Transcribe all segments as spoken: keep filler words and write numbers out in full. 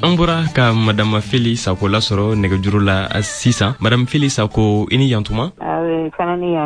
An bɔra ka Madame Fili Sako lasɔrɔ nɛgɛjuru la sisan. Madame Fili Sako, i ni yantuma.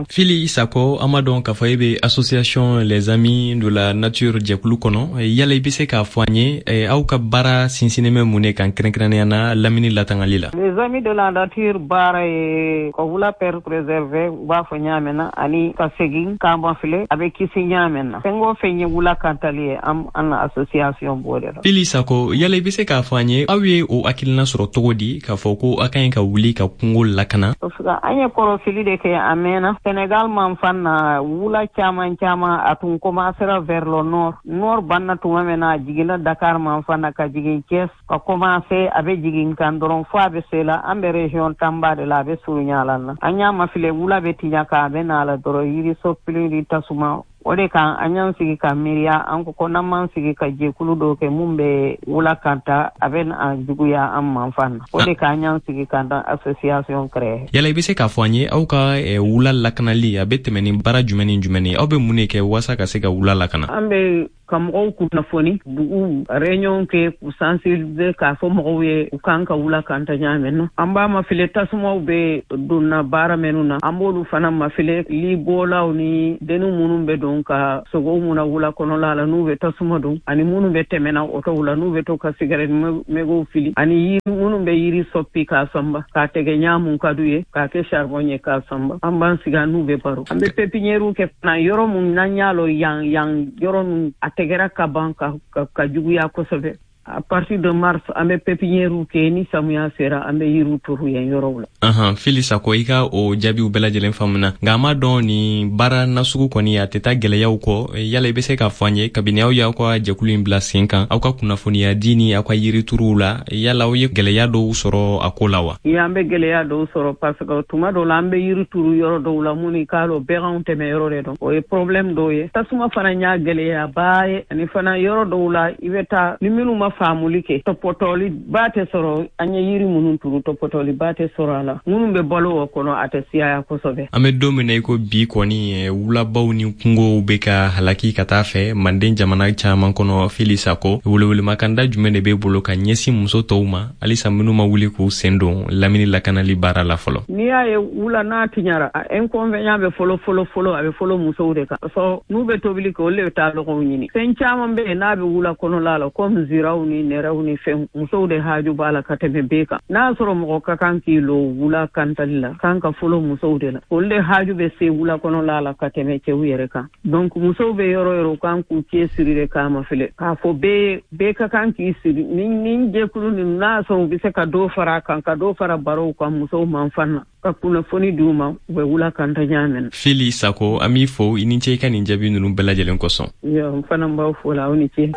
Fili Sako, an b'a dɔn k'a fɔ e bɛ association Les Amis de la Nature jɛkulu kɔnɔ. Yala i bɛ se k'a fɔ an ye, aw ka baara sinsinnen bɛ mun de kan, kɛrɛnkɛrɛnnenya la lamini latangali la? Les Amis de la Nature baara ye ka wula pɛr préserver, u b'a fɔ ɲa mɛn na, ani ka segin k'an filɛ a bɛ kisi ɲa mɛn na. Fɛn o fɛn ye wula kantali ye, an an na association b'o de la. Fili Sako, yala i bɛ se k'a fɔ an ye, aw ye o hakilina sɔrɔ cogo di k'a fɔ ko a ka ɲi ka wuli ka kungo lakana? An ye kɔrɔsili de kɛ a mɛnna. Senegal man fan na, wula caman caman a tun commencera vers le nord. Nord banna tuma min na, a jiginna Dakar man fan na, ka jigin Thiès, ka commencer a bɛ jigin kan dɔrɔn fo a bɛ se la an bɛ région Tamba de la, a bɛ surunya la na. An y'a mafilɛ, wula bɛ tiɲɛ kan, a bɛ na la dɔrɔn, yiriso pili tasuma o de kan. An y'an sigi ka miiriya, an ko ko n'an m'an sigi ka jɛkulu dɔw kɛ mun bɛ wula kan ta, a bɛ an juguya an manfan na. O de kan an y'an sigi ka dan association créer. Yala i bɛ se k'a fɔ an ye, aw ka wula lakanali a bɛ tɛmɛ ni baara jumɛn ni jumɛn ye? Aw bɛ mun de kɛ walasa ka se ka wula lakana? An bɛ ka mɔgɔw kunnafoni, dugu réunion kɛ k'u sensibiliser, k'a fɔ mɔgɔw ye u kan ka wula kan ta ɲa mɛn na. An b'a mafilɛ tasumaw bɛ donna baara minnu na, an b'olu fana mafilɛ, libɔlaw ni denni minnu bɛ don ka sogow mun na wula kɔnɔla la n'u bɛ tasuma don, ani minnu bɛ tɛmɛna otow la n'u bɛ to ka sigɛrɛti megow fili, ani yiri minnu bɛ yiri sɔppi k'a sanba, k'a tɛgɛ ɲa mun ka d'u ye, k'a kɛ charbon ye k'a sanba. An b'an sigi an n'u bɛ baro. An bɛ pépinière kɛ fana yɔrɔ mun n'an y'a lɔ yan yan yɔrɔ nun a tɛgɛra ka ban ka, ka, ka juguya kosɛbɛ. À partir de mars, an bɛ pépinière kɛ, ni samiya sera, an bɛ yiriw turu yen yɔrɔw la. Ahan, Fili Sako, i ka o jaabiw bɛɛ lajɛlen faamuna, nka an b'a dɔn nin baara nasugu kɔni a tɛ taa gɛlɛyaw kɔ. Yala i bɛ se k'a fɔ an ye, kabini aw y'aw ka jɛkulu in bila sen kan, aw ka kunnafoniya di ni aw ka yirituruw la, yala aw ye gɛlɛya dɔw sɔrɔ a ko la wa? An bɛ gɛlɛya dɔw sɔrɔ, parce que tuma dɔw la an bɛ yiri turu yɔrɔ dɔw la mun i k'a lɔn baganw tɛmɛ yɔrɔ de dɔn, o ye problème dɔw ye. Tasuma fana y'a gɛlɛyaba ye, ani fana yɔrɔ dɔw la i bɛ taa ni minnu ma faamuli kɛ, tɔpɔtɔli ba tɛ sɔrɔ. An ye yiri minnu turu, tɔpɔtɔli ba tɛ sɔrɔ a la. Minnu bɛ balo o kɔnɔ, a tɛ siyaya kosɛbɛ. An bɛ don min na i ko bi kɔni, wulabaw ni kungow bɛ ka halaki ka taa fɛ manden jamana caman kɔnɔ. Fili Sako, welewelemakanda jumɛn de b'e bolo ka ɲɛsin muso tɔw ma halisa minnu ma wuli k'u sen don lamini lakanali baara la fɔlɔ? N'i y'a ye wula n'a tiɲara, a inconvénient bɛ fɔlɔ fɔlɔ fɔlɔ, a bɛ fɔlɔ musow de kan. Parce n'u bɛ tobili kɛ, olu de bɛ taa lɔgɔw ɲini. Fɛn caman bɛ yen n'a bɛ wula kɔnɔla la, comme ziraw ni nɛrɛw ni fɛn, musow de haaju b'a la ka tɛmɛ bɛɛ kan. N'a sɔrɔ mɔgɔ ka kan k'i lo wula kantali la, kan ka fɔlɔ musow de la, olu de haaju bɛ se wula kɔnɔla la ka tɛmɛ cɛw yɛrɛ kan. Donc musow bɛ yɔrɔ yɔrɔ, u kan k'u cɛ siri de k'a ma filɛ k'a fɔ bɛɛ bɛɛ ka kan k'i siri ni ni jɛkulu ninnu. N'a sɔrɔ u bɛ se ka dɔ fara a kan, ka dɔ fara barow kan musow man fan na, ka kunnafoni d'u ma, u bɛ wula kanta ɲa mɛn. Fili Sako, an b'i fo, i ni ce i ka nin jaabi ninnu bɛɛ lajɛlen kosɔn. Yo, n fana b'aw fo la, aw ni ce.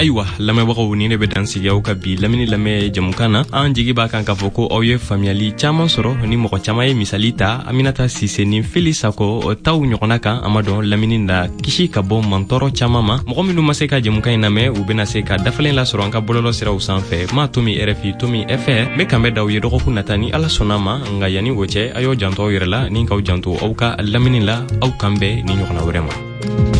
Ayiwa lamɛnbagaw, ni ne bɛ dan sigi aw ka bi lamini lamɛn jamukan na. An jigi b'a kan k'a fɔ ko aw ye faamuyali caman sɔrɔ ni mɔgɔ caman ye misali ta Aminata Sise ni Fili Sako taw ɲɔgɔnna kan. An ma dɔn lamini na kisi ka bɔ mantɔɔrɔ caman ma. Mɔgɔ minnu ma se ka jamukan in lamɛn, u bɛna se ka dafalen lasɔrɔ an ka bɔlɔlɔ siraw sanfɛ, ma tomi R F I tomi F R. N bɛ kanbɛn d'aw ye dɔgɔkun nata ni Ala sɔnna ma. Nka yanni o cɛ, a y'aw janto aw yɛrɛ la ni k'aw janto aw ka lamini la. Aw kan bɛn ni ɲɔgɔnna wɛrɛ ma.